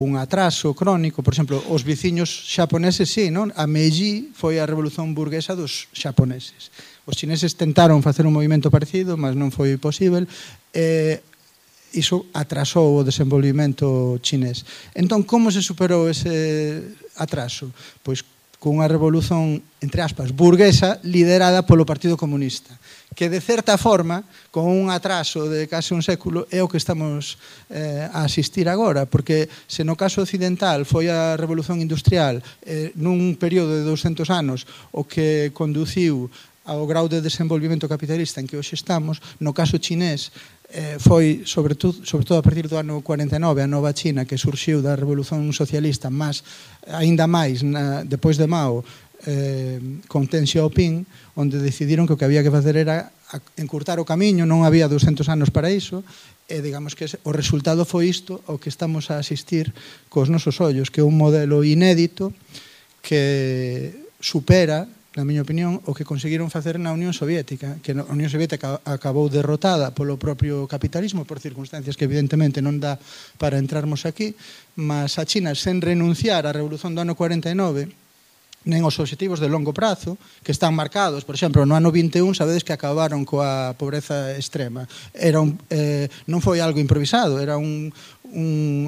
un atraso crónico. Por exemplo, os veciños xaponeses, sí, non? A Meiji foi a revolución burguesa dos xaponeses. Os chineses tentaron facer un movimento parecido, mas non foi posible. Iso atrasou o desenvolvimento chinés. Entón, como se superou ese atraso? Pois cunha revolución, entre aspas, burguesa, liderada polo Partido Comunista, que de certa forma, con un atraso de case un século, é o que estamos a asistir agora, porque se no caso occidental foi a revolución industrial nun período de 200 anos o que conduciu ao grau de desenvolvimento capitalista en que hoxe estamos, no caso chinés foi, sobre todo a partir do ano 49, a nova China, que surxiu da revolución socialista, mas aínda máis depois de Mao, con Deng Xiaoping, onde decidiron que o que había que facer era encurtar o camiño, non había 200 anos para iso, e digamos que o resultado foi isto ao que estamos a asistir cos nosos ollos, que é un modelo inédito que supera, na miña opinión, o que conseguiron facer na Unión Soviética, que a Unión Soviética acabou derrotada polo propio capitalismo, por circunstancias que evidentemente non dá para entrarmos aquí, mas a China, sen renunciar á revolución do ano 49, nen os obxectivos de longo prazo, que están marcados, por exemplo, no ano 21, sabedes que acabaron coa pobreza extrema. Non foi algo improvisado, era un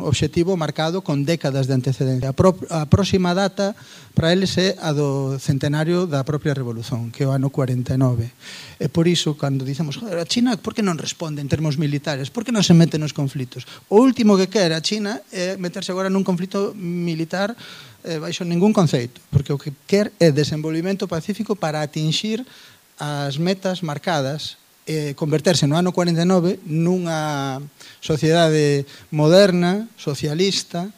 obxectivo marcado con décadas de antecedencia. A próxima data para eles é a do centenario da propia revolución, que é o ano 49. E por iso, cando dicemos, joder, a China, por que non responde en termos militares? Por que non se mete nos conflitos? O último que quere a China é meterse agora nun conflito militar baixo ningún conceito, porque o que quer é desenvolvimento pacífico para atinxir as metas marcadas, converterse no ano 49 nunha sociedade moderna, socialista,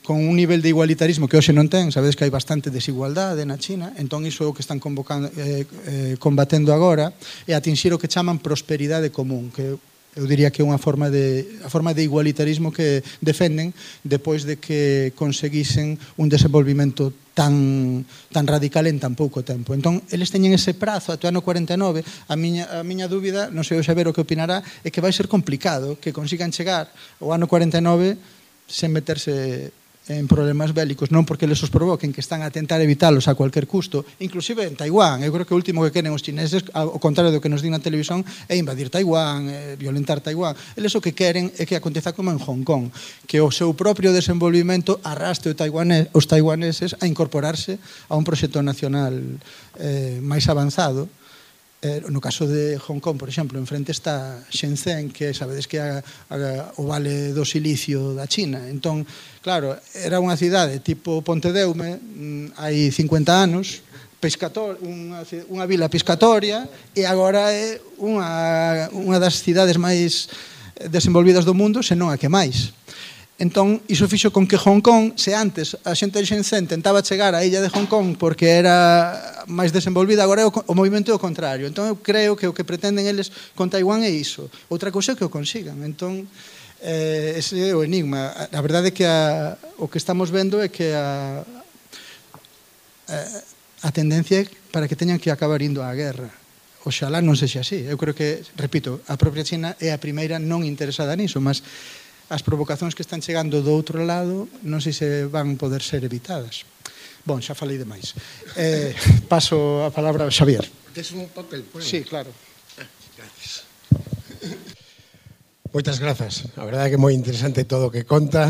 con un nivel de igualitarismo que hoxe non ten. Sabedes que hai bastante desigualdade na China, entón iso é o que están combatendo agora, e atinxir o que chaman prosperidade común, que eu diría que é a forma de igualitarismo que defenden depois de que conseguisen un desenvolvimento tan radical en tan pouco tempo. Entón, eles teñen ese prazo até o ano 49. A miña dúbida, non sei o Xavier o que opinará, é que vai ser complicado que consigan chegar ao ano 49 sen meterse en problemas bélicos, non porque les os provoquen, que están a tentar evitalos a cualquier custo, inclusive en Taiwán. Eu creo que o último que queren os chineses, ao contrario do que nos din na televisión, é invadir Taiwán, violentar Taiwán. Eles o que queren é que aconteza como en Hong Kong, que o seu propio desenvolvimento arrastre os taiwaneses a incorporarse a un proxecto nacional máis avanzado. No caso de Hong Kong, por exemplo, enfrente está Shenzhen, que sabedes que é o vale do silicio da China. Entón, claro, era unha cidade tipo Pontedeume hai 50 anos, unha vila pescatoria, e agora é unha das cidades máis desenvolvidas do mundo, senón a que máis. Entón, iso fixo con que Hong Kong, se antes a xente de Shenzhen tentaba chegar á illa de Hong Kong porque era máis desenvolvida, agora é o movimento é o contrario. Entón, eu creo que o que pretenden eles con Taiwán é iso. Outra cousa é que o consigan. Entón, ese é o enigma. A verdade é que o que estamos vendo é que a tendencia é para que teñan que acabar indo á guerra. Oxalá non sexa así. Eu creo que, repito, a propia China é a primeira non interesada niso, mas as provocacións que están chegando do outro lado non sei se van poder ser evitadas. Bon, xa falei demais. Paso a palabra ao Xavier. Tes un papel? Sí, claro. Gracias. Moitas grazas. A verdade é que é moi interesante todo o que conta,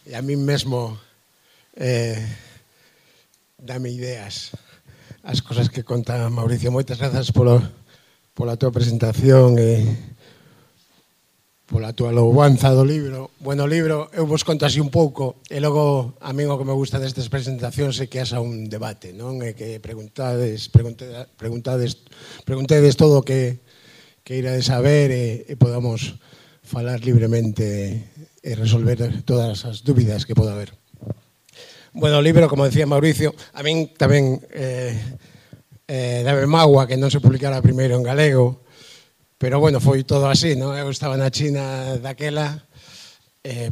e a mí mesmo dame ideas as cosas que conta Mauricio. Moitas grazas pola tua presentación e pola tua louvanza do libro. Bueno, o libro, eu vos conto así un pouco, e logo a mí o que me gusta destas presentacións é que haxa un debate, non? E que preguntedes todo o que irades saber e podamos falar libremente e resolver todas as dúbidas que poda haber. Bueno, o libro, como decía Mauricio, a min tamén dame mágoa que non se publicara primeiro en galego, pero bueno, foi todo así, non? Eu estaba na China daquela,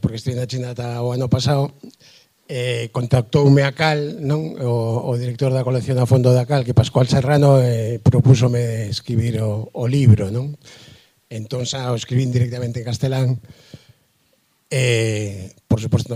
porque estive na China ata o ano pasado, contactoume a Cal, non? O director da colección a fondo da Cal, que Pascual Serrano, propúsome escribir o libro, non? Entón xa o escribín directamente en castelán, Por suposto,